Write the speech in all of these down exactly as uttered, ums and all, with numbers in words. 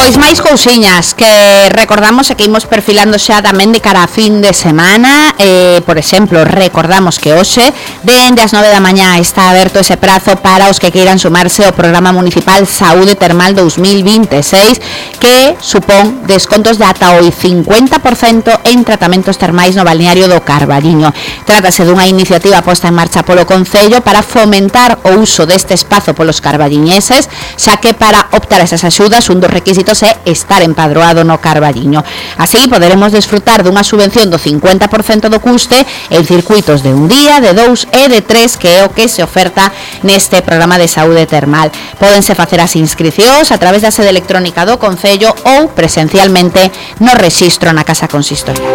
Pois máis cousiñas que recordamos e que imos perfilando xa tamén de cara a fin de semana. eh, Por exemplo, recordamos que hoxe dende as nove da mañá está aberto ese prazo para os que queiran sumarse ao Programa Municipal Saúde Termal dos mil vinte e seis, que supón descontos de ata o cincuenta por cento en tratamentos termais no balneario do Carballiño. Trátase dunha iniciativa posta en marcha polo Concello para fomentar o uso deste espazo polos carballiñeses, xa que para optar a esas axudas un dos requisitos é estar empadroado no Carballiño. Así poderemos desfrutar dunha subvención do cincuenta por cento do custe en circuitos de un día, de dous e de tres, que é o que se oferta neste programa de saúde termal. Pódense facer as inscricións a través da sede electrónica do Concello ou presencialmente no rexistro na Casa Consistorial.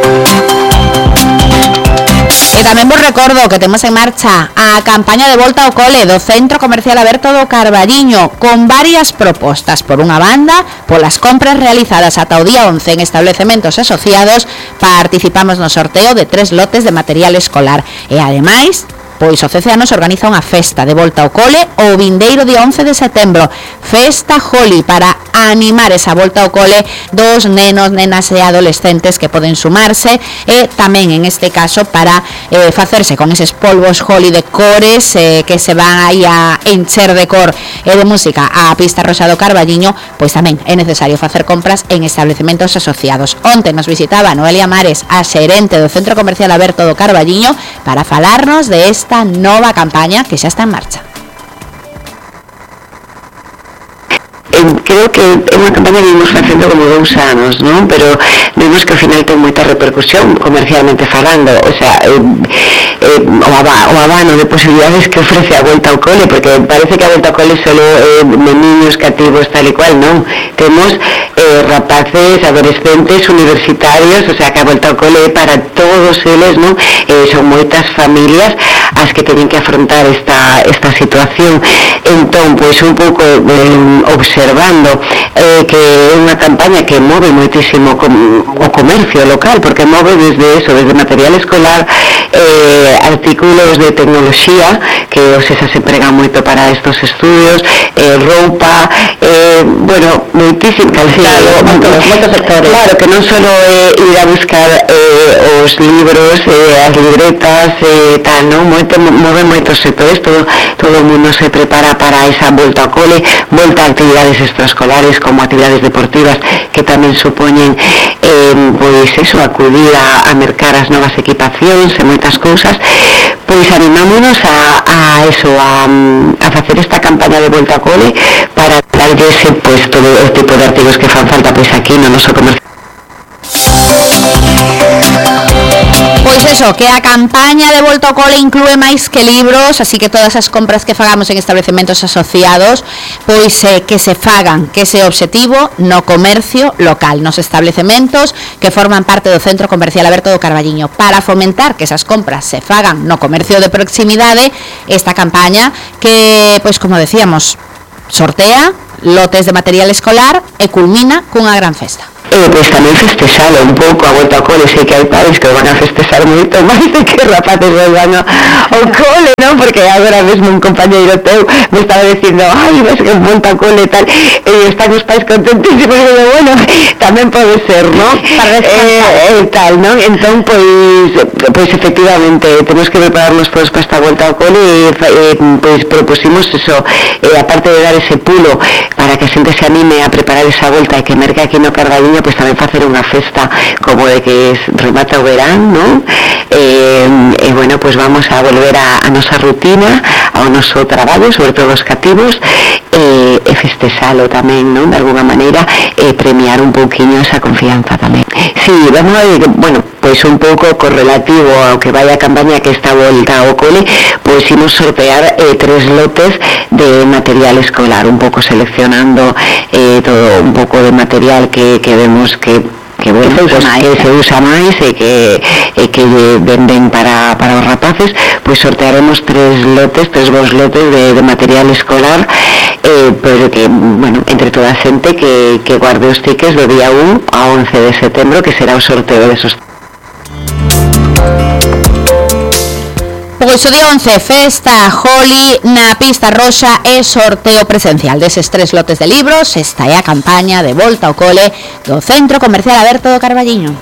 E tamén vos recordo que temos en marcha a campaña de volta ao cole do Centro Comercial Aberto do Carballiño, con varias propostas. Por unha banda, polas compras realizadas ata o día once en establecementos asociados, participamos no sorteo de tres lotes de material escolar. E ademais, pois o C C A nos organiza unha festa de volta ao cole o vindeiro día once de setembro, Festa Holi, para animar esa volta ao cole dos nenos, nenas e adolescentes que poden sumarse, e tamén en este caso para eh, facerse con eses polvos Holi de cores eh, que se van aí a encher de cor e de música a pista rosa do Carballiño. Pois tamén é necesario facer compras en establecementos asociados. Onte nos visitaba Noelia Mares, a xerente do Centro Comercial Aberto do Carballiño, para falarnos de esta nova campaña que xa está en marcha. Creo que é unha campaña que vimos facendo como dous anos, non? Pero vemos que ao final ten moita repercusión comercialmente falando, o sea, eh, eh, o, aba, o abano de posibilidades que ofrece a volta ao cole, porque parece que a volta ao cole solo eh, de niños cativos tal e cual, non? Temos eh, rapaces, adolescentes, universitarios, o sea, que a volta ao cole é para todos eles, non? Eh, son moitas familias as que teñen que afrontar esta, esta situación. Entón, pois un pouco eh, observando eh, que é unha campaña que move moitísimo com, o comercio local, porque move desde eso, desde material escolar, eh, artículos de tecnoloxía, que os esas se empregan moito para estos estudios, eh, roupa, eh, bueno, moitísimo calzado, moitos, moitos sectores. Claro, que non só é eh, ir a buscar eh, os libros, eh, as libretas, eh, tal, non? Moito, move moitos sectores, todo, todo o mundo se prepara para esa volta ao cole, volta a actividades extraescolares como actividades deportivas que tamén supoñen eh, pois eso, acudir a, a mercar as novas equipacións e moitas cousas. Pois animámonos a, a eso, a, a facer esta campaña de volta ao cole para darlle ese, pois, todo o tipo de artigos que fan falta pois aquí no noso comercio. Pois eso, que a campaña de volta ao cole inclúe máis que libros, así que todas as compras que fagamos en establecementos asociados, pois eh, que se fagan, que ese obxectivo no comercio local, nos establecementos que forman parte do Centro Comercial Aberto do Carballiño, para fomentar que esas compras se fagan no comercio de proximidade. Esta campaña que, pois como decíamos, sortea lotes de material escolar e culmina cunha gran festa. Eh, pois tamén festexalo un pouco a volta ao cole. Sei que hai padres que van a festexar moito máis de que rapaces volvan ao cole, non? Porque agora mesmo un compañeiro teu me estaba dicindo, ai, vas que volta ao cole e tal, e están os pais contentísimos, e digo, bueno, tamén pode ser, non? Para descansar. Eh, e tal, non? Entón, pois, pois efectivamente, temos que prepararnos todos para esta volta ao cole e, eh, pois, propusimos eso, eh, aparte de dar ese pulo para que a xente se anime a preparar esa volta e que merque aquí no Carballiño, pois tamén facer unha festa como de que remata o verán, non? E, e bueno, pois vamos a volver a, a nosa rutina, ao noso traballo, sobre todo os cativos, e, e festexalo tamén, non? De alguna maneira, e premiar un pouquiño esa confianza tamén. Sí, vamos a ver, bueno, pois un pouco correlativo ao que vai a campaña que está volta ao cole, pois imos sortear eh, tres lotes de material escolar, un pouco seleccionando eh, todo un pouco de material que, que vemos que que bueno, que se usa, pues, que se usa máis e que, e que venden para, para os rapaces. Pois sortearemos tres lotes, tres bons lotes de, de material escolar, eh, pero que, bueno, entre toda a xente que, que guarde os tickets do día un a once de setembro, que será o sorteo de esos. Logo iso de once, festa Holi na pista roxa e sorteo presencial deses tres lotes de libros. Esta é a campaña de volta ao cole do Centro Comercial Aberto do Carballiño.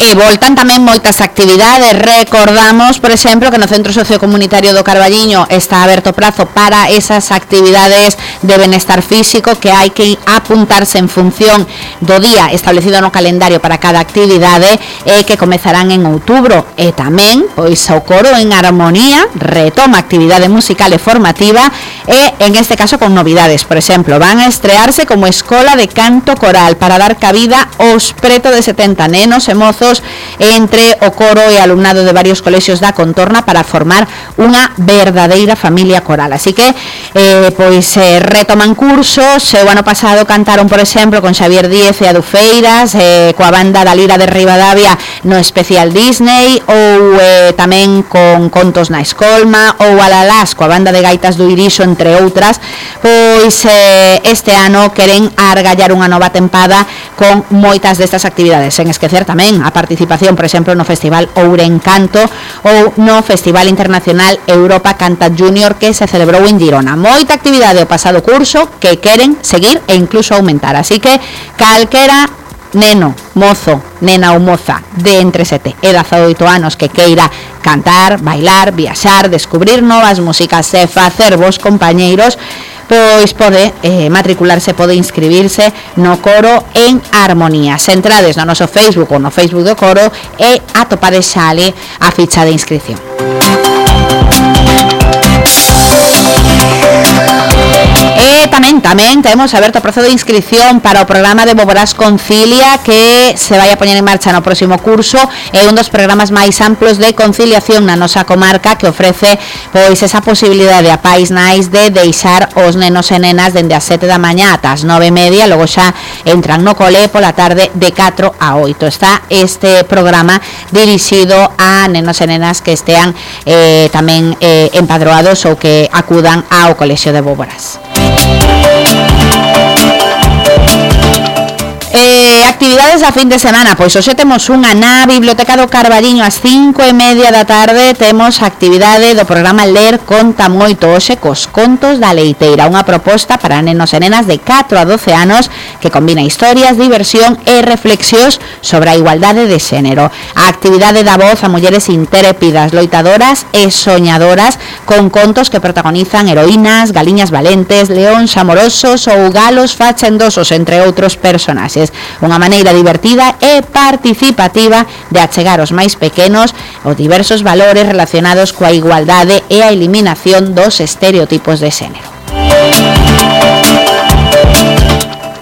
E voltan tamén moitas actividades. Recordamos, por exemplo, que no Centro Sociocomunitario do Carballiño está aberto prazo para esas actividades de benestar físico, que hai que apuntarse en función do día establecido no calendario para cada actividade, e que comezarán en outubro. E tamén, pois, o coro en Armonía retoma actividade musical e formativa, e en este caso con novidades. Por exemplo, van a estrearse como escola de canto coral para dar cabida aos preto de setenta nenos e mozos entre o coro e alumnado de varios colexios da contorna para formar unha verdadeira familia coral. Así que eh, pois eh, retoman cursos. O ano pasado cantaron, por exemplo, con Xavier Díez e Adufeiras, eh, coa banda da Lira de Ribadavia no especial Disney, ou eh, tamén con Contos na Escolma, ou Alalás coa banda de gaitas do Irixo, entre outras. Pois eh, este ano queren argallar unha nova tempada con moitas destas actividades, sen esquecer tamén a participación, por exemplo, no Festival Ourencanto ou no Festival Internacional Europa Canta Junior, que se celebrou en Girona. Moita actividade o pasado curso que queren seguir e incluso aumentar, así que calquera neno, mozo, nena ou moza de entre sete e dezaoito anos que queira cantar, bailar, viaxar, descubrir novas músicas e facer vos compañeiros, pois pode eh, matricularse, pode inscribirse no coro en Armonía. Se entrades no noso Facebook ou no Facebook do coro, e atopades xa ali a ficha de inscripción. E tamén, tamén temos aberto o prazo de inscripción para o programa de Boborás Concilia, que se vai a poñer en marcha no próximo curso. É un dos programas máis amplos de conciliación na nosa comarca, que ofrece pois esa posibilidade a pais nais de deixar os nenos e nenas dende as sete da mañá ata as nove e media, logo xa entran no cole pola tarde de catro a oito. Está este programa dirixido a nenos e nenas que estean eh, tamén eh, empadroados ou que acudan ao colexio de Boborás. Eh, actividades a fin de semana, pois hoxe temos unha na Biblioteca do Carballiño ás cinco e media da tarde. Temos actividade do programa Ler Conta Moito, hoxe cos Contos da Leiteira, unha proposta para nenos e nenas de catro a doce anos que combina historias, diversión e reflexións sobre a igualdade de xénero. A actividade dá voz a mulleres intrépidas, loitadoras e soñadoras, con contos que protagonizan heroínas, galiñas valentes, leóns amorosos ou galos fachendosos, entre outros personaxes. Unha maneira divertida e participativa de achegar aos máis pequenos os diversos valores relacionados coa igualdade e a eliminación dos estereotipos de xénero.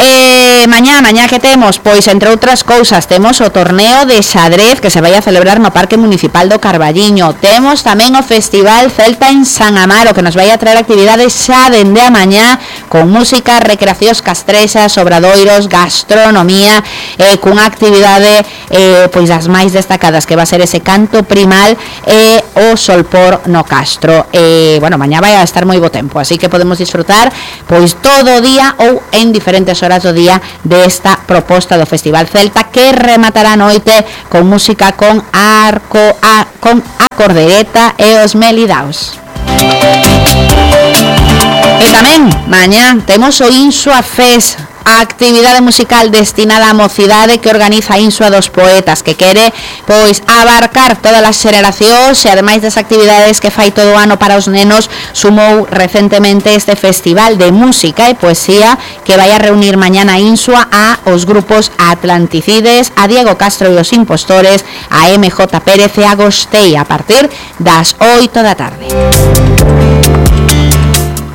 E mañá, mañá que temos, pois entre outras cousas, temos o torneo de xadrez que se vai a celebrar no Parque Municipal do Carballiño. Temos tamén o Festival Celta en San Amaro, que nos vai a traer actividades xa dende a mañá, con música, recreacións castrexas, obradoiros, gastronomía, e cunha actividade eh, pois das máis destacadas, que va a ser ese canto primal e o solpor no Castro. E, bueno, mañá vai a estar moi bo tempo, así que podemos disfrutar pois todo o día ou en diferentes horas do día desta proposta do Festival Celta, que rematará a noite con música con arco a, con a cordereta e os melidaos. E tamén mañá temos o Insua Fest, a actividade musical destinada á mocidade que organiza a Insua dos Poetas, que quere pois abarcar todas as xeracións, e ademais das actividades que fai todo o ano para os nenos, sumou recentemente este festival de música e poesía que vai a reunir mañana a Insua a os grupos Atlanticides, a Diego Castro e os Impostores, a M J Pérez e a Gostei, a partir das oito da tarde.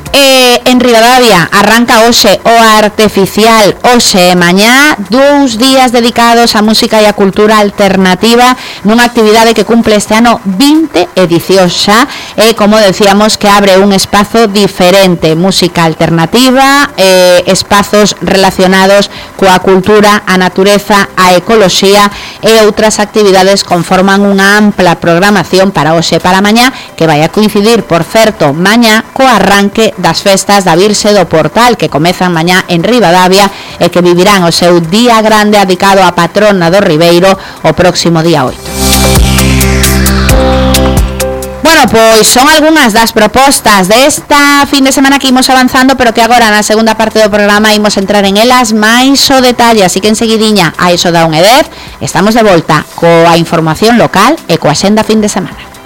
E en Ribadavia arranca hoxe o Arteficial, hoxe e mañá, dous días dedicados á música e á cultura alternativa, nunha actividade que cumple este ano vinte edicións xa, e como decíamos, que abre un espazo diferente, música alternativa, e espazos relacionados coa cultura, a natureza, a ecoloxía e outras actividades conforman unha ampla programación para hoxe e para mañá, que vai a coincidir, por certo, mañá co arranque das festas da Virxe do Portal, que comezan mañá en Ribadavia e que vivirán o seu día grande dedicado á patrona do Ribeiro o próximo día oito. Bueno, pois son algunhas das propostas desta fin de semana que imos avanzando, pero que agora na segunda parte do programa imos entrar en elas máis o detalle, así que enseguidiña a iso da unha e dez estamos de volta coa información local e coa xenda fin de semana.